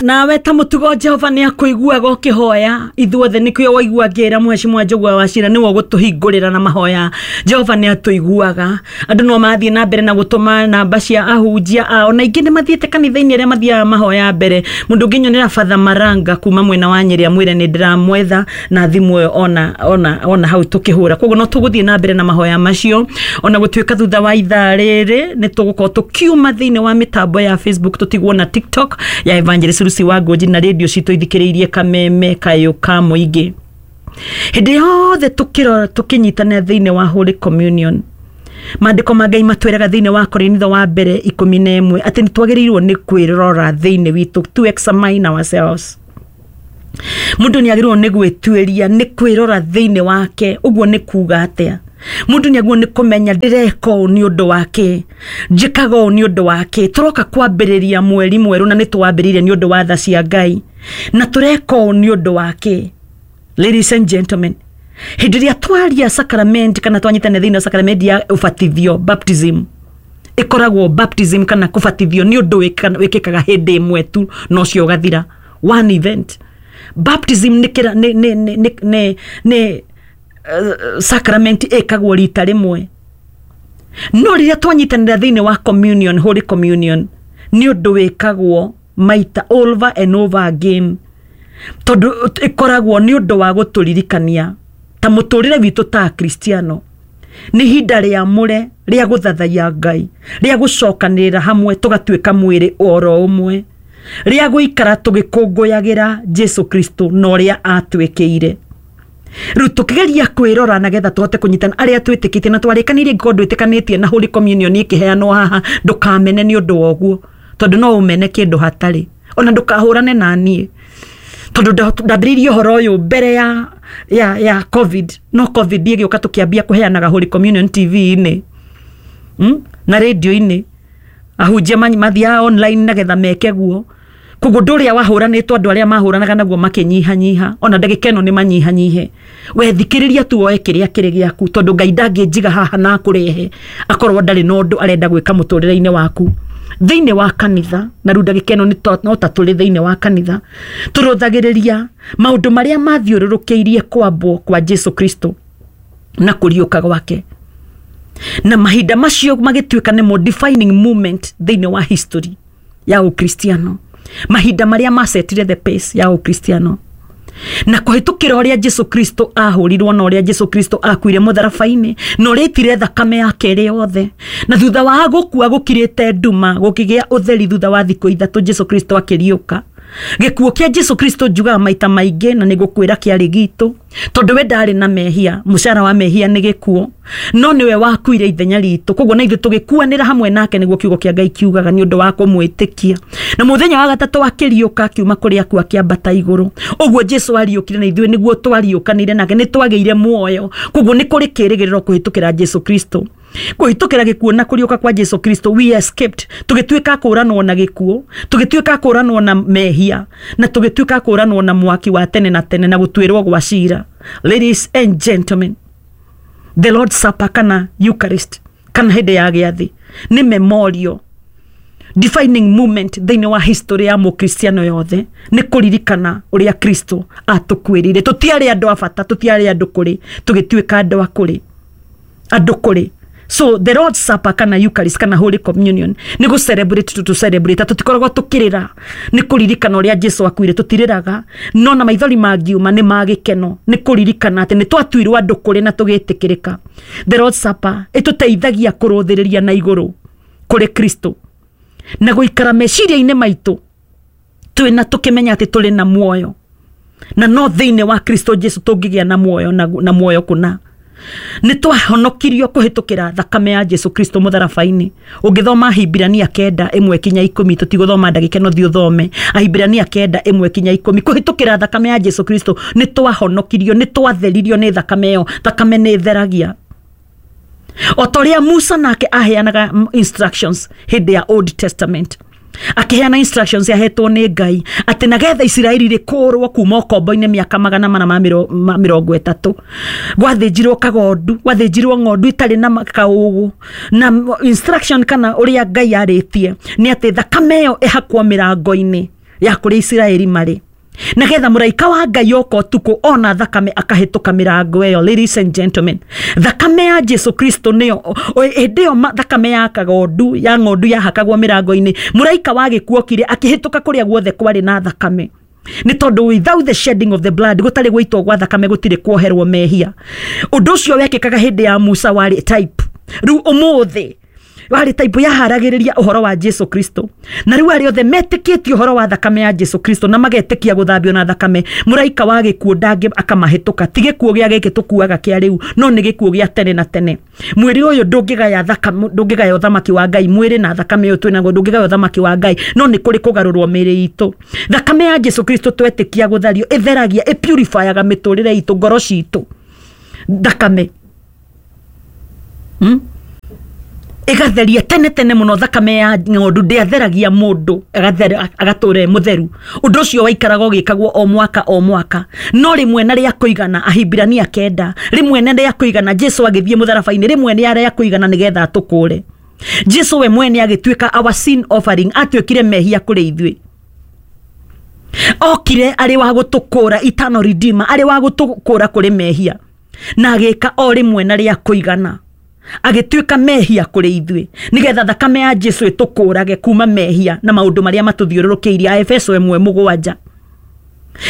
Nawe ta mũtugo Jehova nĩ akũiguaga ũkĩhoya. Ithuothe nĩkĩo waigua ngĩra Mheshimiwa Njũgũa wa Cira nĩwe ũgũtũhingũrĩra na mahoya. Jehova nĩ atũiguaga. Andũ no mathiĩ na mbere na gũtũma namba cia ahunjia ao, na ingĩ nĩ mathiĩte kanitha-inĩ arĩa mathiaga mahoya mbere. Mũndũ ũngĩnyonera Father Maranga kuma mwena wa Nyĩrĩ amwĩre nĩ ndĩramwetha na thimũ ĩyo ona hau tũkĩhũra. Koguo no tũgũthiĩ na mbere na mahoya macio, ona gũtuĩka thutha wa ithaa rĩrĩ nĩ tũgũkorwo tũkiuma thĩinĩ wa mĩtambo ya Facebook, tũtigwo na TikTok ya Evangelist Lucy wa Ngũnji na radio citũ ithikĩrĩirie Kameme Kayũ ka Mũingĩ. Hĩndĩ yothe tũkĩrora tũkĩnyitanĩra thĩinĩ wa Holy Communion, maandĩko ma Ngai matwĩraga thĩinĩ wa Korinitho wa mbere 11 atĩ nĩ twagĩrĩirwo nĩ kwĩrora thĩinĩ witũ, to examine ourselves. Mũndũ nĩ agĩrĩirwo nĩ gwĩtuĩria, nĩ kwĩrora thĩinĩ wake. Ũguo nĩ kuga atĩa? Mũndũ nĩ agĩrĩirwo nĩ kũmenya ndĩreka ũũ nĩ ũndũ wake, njĩkaga ũũ nĩ ũndũ wake. Tũroka kwambĩrĩria mweri mwerũ na nĩ twambĩrĩirie nĩ ũndũ wa tha cia Ngai, na tũreka ũũ nĩ ũndũ wake. Ladies and gentlemen, hĩndĩ ĩrĩa twaria sacrament kana twanyitanĩra thĩinĩ wa sacrament ya ũbatithio, baptism, ĩkoragwo baptism kana kũbatithio nĩ ũndũ wĩkĩkaga hĩndĩ ĩmwe tu na ũcio ũgathira, one event. Baptism nĩ kĩra- nĩ nĩ nĩ nĩ nĩ nĩ sacrament ĩkagwo rita rĩmwe. No rĩrĩa twanyitanĩra thĩinĩ wa communion, Holy Communion, nĩ ũndũ wĩkagwo maita over and over again, tondũ ĩkoragwo nĩ ũndũ wa gũtũririkania ta mũtũrĩre witũ ta Akristiano nĩ ihinda rĩamũre rĩa gũthathaiya Ngai, rĩa gũcokanĩrĩra hamwe tũgatuĩka mwĩrĩ oro ũmwe, rĩa gũikara tũgĩkũngũyagĩra Jesu Kristo na ũrĩa atwĩkĩire. Rĩu tũkĩgeria kwĩrora nagetha tũhote kũnyitana arĩa twĩtĩkĩtie na twarĩkanĩirie. Ngĩkorwo ndwĩtĩkanĩtie na Holy Communion ĩkĩheanwo haha, ndũkamene nĩ ũndũ wa ũguo, tondũ no ũmene kĩndũ hatarĩ. Ona ndũkahũrane na niĩ, tondũ ndambĩrĩirie ũhoro ũyũ mbere ya COVID, no COVID ĩgĩũka tũkĩambia kũheanaga Holy Communion TV-inĩ, Na radio-inĩ. Ahunjia mathiaga online nagetha meke guo. Koguo ũndũ ũrĩa wahũranĩtwo, andũ arĩa mahũranaga naguo makĩnyihanyiha, ona ndagĩka ĩno nĩ manyihanyihe. We thikĩrĩria tu, woe kĩrĩa kĩrĩ gĩaku, tondũ Ngai ndangĩnjiga haha na akũrehe akorwo ndarĩ na ũndũ arenda gwĩka mũtũrĩre-inĩ waku thĩinĩ wa kanitha. Na rĩu ndagĩka ĩno no ta tũrĩ thĩinĩ wa kanitha, tũrũthagĩrĩria maũndũ marĩa mathiũrũrũkĩirie kwambwo kwa Jesu Kristo na kũriũka gwake, na mahinda macio magĩtuĩka nĩmo defining moment thĩinĩ wa history ya Ũkristiano, mahinda marĩa macetire the pace ya Ũkristiano na kũhĩtũkĩra ũrĩa Jesu Kristo ahũrirwo na ũrĩa Jesu Kristo akuire mũtharaba-inĩ na ũrĩa aitire thakame yake ĩrĩ yothe, na thutha wa gũkua gũkirĩte nduma gũkĩgĩa ũtheri. Thutha wa thikũ 3 Jesu Kristo akĩriũka. Gĩkuũ kĩa Jesu Kristo, njugaga maita maingĩ na nĩ gũkwĩra, kĩarĩ gitũ, tondũ we ndarĩ na mehia. Mũcara wa mehia nĩ gĩkuũ, no nĩwe wakuire ithenya ritũ, koguo na ithuĩ tũgĩkuanĩra hamwe nake, nĩguo kiugo kĩa Ngai kiugaga, nĩ ũndũ wa kũmwĩtĩkia. Na mũthenya wa gatatũ akĩriũka, akiuma kũrĩa akuo, akĩambata igũrũ. Ũguo Jesu ariũkire, na ithuĩ nĩguo twariũkanire nake, nĩ twagĩire muoyo. Koguo nĩ kũrĩ kĩrĩgĩrĩro kũhĩtũkĩra Jesu Kristo. Kũhĩtũkĩra gĩkuũ na kũriũka kwa Jesu Kristo, we escaped, tũgĩtuĩka kũranwo na gĩkuũ, tũgĩtuĩka kũranwo na mehia, na tũgĩtuĩka kũranwo na mwaki wa tene na tene na gũtuĩrwo gwa cira. Ladies and gentlemen, the Lord's Supper kana Eucharist kana hĩndĩ ya gĩathĩ nĩ memorial defining moment thĩinĩ wa history ya mũkristiano yothe, nĩ kũririkana ũrĩa Kristo atũkuĩrĩire. Tũtiarĩ andũ a bata, tũtiarĩ andũ kũrĩ, tũgĩtuĩka andũ a kũrĩ, andũ kũrĩ. So the Lord's Supper kana Eucharist kana Holy Communion nĩ gũ celebrate tu, celebrate. Tũtikoragwo tũkĩrĩra, nĩ kũririkana ũrĩa Jesu akuire. Tũtirĩraga, no na maithori mangiuma nĩ ma gĩkeno, nĩ kũririkana atĩ nĩ twatuirwo andũ kũrĩ na tũgĩtĩkĩrĩka. The Lord's Supper ĩtũteithagia kũrũthĩrĩria na igũrũ kũrĩ Kristo na gũikara meciria-inĩ maitũ twĩna tũkĩmenya atĩ tũrĩ na muoyo, na no thĩinĩ wa Kristo Jesu tũngĩgĩa na muoyo na muoyo kũna. Nĩ twahonokirio kũhĩtũkĩra thakame ya Jesu Kristo mũtharaba-inĩ. Ũngĩthoma Ahibirania 9:1 kinya 10, tũtigũthoma ndagĩka ĩno, thiĩ ũthome Ahibirania 9:1 kinya 10. Kũhĩtũkĩra thakame ya Jesu Kristo nĩ twahonokirio, nĩ twatheririo nĩ thakame ĩyo. Thakame nĩ ĩtheragia, o ta ũrĩa Musa nake aheanaga instructions hĩndĩ ya Old Testament, akĩheana instructions yahetwo nĩ Ngai atĩ nagetha Isiraeli rĩkũrwo kuma ũkombo-inĩ mĩaka 430, gwathĩnjirwo kagondu, gwathĩnjirwo ng'ondu itarĩ na kaũgũ, na instruction kana ũrĩa Ngai arĩtie nĩ atĩ thakame ĩyo ĩhakwo mĩrango-inĩ. Ya kũrĩa Isiraeli marĩ, nagetha mũraika wa Ngai oka ũtukũ ona thakame akahĩtũka mĩrango ĩyo. Ladies and gentlemen, thakame ya Jesu Kristo nĩyo hĩndĩ ĩyo thakame ya kagondu ya ng'ondu yahakagwo mĩrango-inĩ, mũraika wa gĩkuũ okire akĩhĩtũka kũrĩa guothe kwarĩ na thakame, nĩ tondũ without the shedding of the blood, gũtarĩ gũitwo gwa thakame, gũtirĩ kuoherwo mehia. Ũndũ ũcio wekĩkaga hĩndĩ ya Musa warĩ type, rĩu ũmũthĩ warĩ type yaharagĩrĩria ũhoro wa Jesu Kristo. Na rĩu arĩa othe metĩkĩtie ũhoro wa thakame ya Jesu Kristo na magetĩkia gũthambio na thakame, mũraika wa gĩkuũ ndangĩ akamahĩtũka. Ti gĩkuũ gĩa gĩkĩ tũkuaga kĩa rĩu, no nĩ gĩkuũ gĩa tene na tene. Mwĩrĩ ũyũ ndũngĩgaya thakame, ndũngĩgaya ũthamaki wa Ngai. Mwĩrĩ na thakame ũyũ twĩnaguo ndũngĩgaya ũthamaki wa Ngai, no nĩ kũrĩ kũgarũrwo mĩĩrĩ itũ. Thakame ya Jesu Kristo twetĩkia gũthario ĩtheragia, ĩpurifyaga mĩtũrĩre itũ, ngoro citũ. Thakame Ĩgatheria tene tene mũno. Thakame ya ng'ondu ndĩatheragia mũndũ agatũra e mũtheru. Ũndũ ũcio waikaraga ũgĩkagwo o mwaka o mwaka, no rĩmwe na rĩa kũigana, Ahibirania 9, rĩmwe na rĩa kũigana, Jesu agĩthiĩ mũtharaba-inĩ rĩmwe nĩ rĩa kũigana nĩgetha atũkũre. Jesu we mwene agĩtuĩka our sin offering, atuĩkire mehia kũrĩ ithuĩ. Okire arĩ wa gũtũkũra, eternal redeemer, arĩ wa gũtũkũra kũrĩ mehia, na agĩka o rĩmwe na rĩa kũigana, agĩtuĩka mehia kũrĩ ithuĩ nĩgetha thakame ya Jesu ĩtũkũrage kuma mehia na maũndũ marĩa matũthiũrũrũkĩirie. Aefeso 1:7.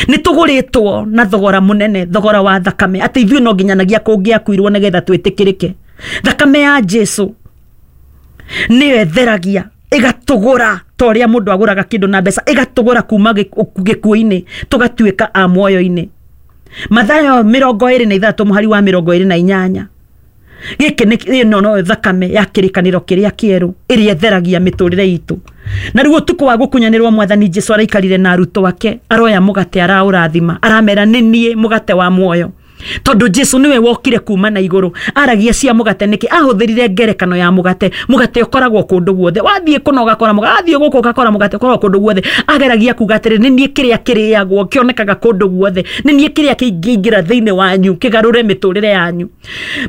Nĩ tũgũrĩtwo na thogora mũnene, thogora wa thakame, atĩ ithuĩ no nginyanagia kũngĩakuirwo nĩgetha twĩtĩkĩrĩke. Thakame ya Jesu nĩyo ĩtheragia, ĩgatũgũra ta ũrĩa mũndũ agũraga kĩndũ na mbeca, ĩgatũgũra kuma gĩkuũ-inĩ tũgatuĩka a muoyo-inĩ. Mathayo 23 mũhari wa 28. Gĩkĩ nĩ ĩno no thakame ya kĩrĩkanĩro kĩrĩa kĩerũ ĩrĩa ĩtheragia mĩtũrĩre itũ. Na rĩu ũtukũ wa gũkunyanĩrwo, Mwathani Jesu araikarire na arutwo ake, aroya mũgate, araũrathima, aramera, "Nĩ niĩ mũgate wa muoyo." Tondũ Jesu nĩwe wokire kuma na igũrũ, aragia cia mũgate nĩkĩ? Ahũthĩrire ngerekano ya mũgate. Mũgate ũkoragwo kũndũ guothe, wathiĩ kũna ũgakora mũgate, wathiĩ gũkũ ũgakora mũgate, ũkoragwo kũndũ guothe. Ageragia kuga atĩrĩ, nĩ niĩ kĩrĩa kĩrĩagwo, kĩonekaga kũndũ guothe, nĩ niĩ kĩrĩa kĩingĩingĩra thĩinĩ wanyu kĩgarũre mĩtũrĩre yanyu.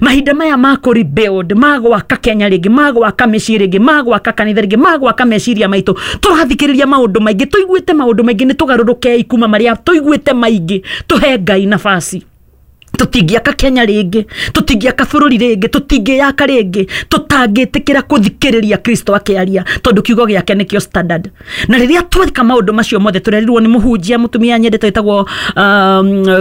Mahinda maya ma kũ rebuild, ma gwaka Kenya rĩngĩ, ma gwaka mĩciĩ rĩngĩ, ma gwaka kanitha rĩngĩ, ma gwaka meciria maitũ, tũrathikĩrĩria maũndũ maingĩ, tũiguĩte maũndũ maingĩ. Nĩ tũgarũrũkei kuma marĩa tũiguĩte maingĩ, tũhe Ngai nafasi. Tũtingĩaka Kenya rĩngĩ, tũtingĩaka bũrũri rĩngĩ, tũtingĩyaka rĩngĩ tũtangĩtĩkĩra kũthikĩrĩria Kristo akĩaria, tondũ kiugo gĩake nĩkĩo standard. Na rĩrĩa tweka maũndũ macio mothe, tũrerirwo nĩ mũhunjia mũtumia nyendete wĩtagwo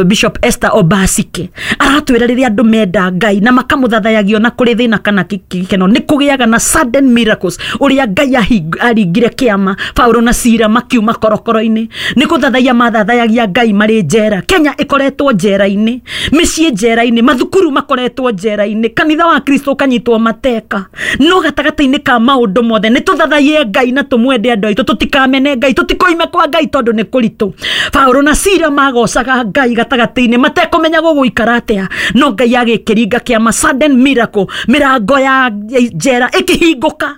Bishop Esther Obasike, aratwĩra rĩrĩa andũ menda Ngai na makamũthathayagio na kũrĩ thĩna kana gĩkeno, nĩ kũgĩaga na sudden miracles. Ũrĩa Ngai aringire kĩama Paulo na Sira makiuma korokoro-inĩ, nĩ gũthathaiya mathathayagia Ngai marĩ njera. Kenya ĩkoretwo njera-inĩ, mĩciĩ njera-inĩ, mathukuru makoretwo njera-inĩ, kanitha wa Kristo ũkanyitwo mateka, no gatagatĩ-inĩ ka maũndũ mothe nĩ tũthathaiye Ngai na tũmwende andũ aitũ. Tũtikamene Ngai, tũtikoime kwa Ngai tondũ nĩ kũritũ. Paulo na Sira magocaga Ngai gatagatĩ-inĩ matekũmenya gũgũikara atĩa, no Ngai agĩkĩringa kĩama, sudden miracle, mĩrango ya njera ĩkĩhingũka,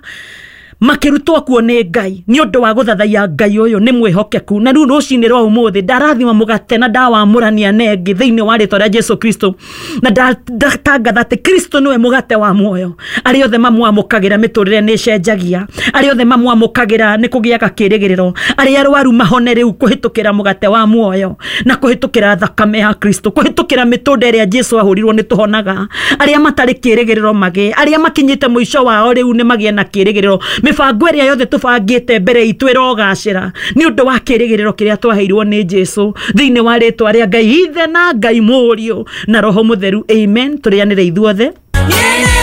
makĩrutwo kuo nĩ Ngai nĩ ũndũ wa gũthathaiya Ngai ũyũ nĩ mwĩhokeku. Na rĩu rũcinĩ rwa ũmũthĩ ndarathima mũgate na ndawamũrania na ĩngĩ thĩinĩ wa rĩtwa rĩa Jesu Kristo, na ndatangatha atĩ Kristo nĩwe mũgate wa muoyo. Arĩa othe mamwamũkagĩra, mĩtũrĩre nĩ ĩcenjagia. Arĩa othe mamwamũkagĩra, nĩ kũgĩaga kĩrĩgĩrĩro. Arĩa arwaru mahone rĩu kũhĩtũkĩra mũgate wa muoyo na kũhĩtũkĩra thakame ya Kristo, kũhĩtũkĩra mĩtũnda ĩrĩa Jesu ahũrirwo nĩ tũhonaga. Arĩa matarĩ kĩrĩgĩrĩro magĩe, arĩa makinyĩte mũico wao rĩu nĩ magĩe na kĩrĩgĩrĩro. Mĩbango ĩrĩa yothe tũbangĩte mbere itũ ĩrogacĩra nĩ ũndũ wa kĩrĩgĩrĩro kĩrĩa twaheirwo nĩ Jesu, thĩinĩ wa rĩtwa rĩa Ngai Ithe na Ngai Mũriũ na Roho Mũtheru, amen. Tũrĩanĩre ithuothe. Yeah.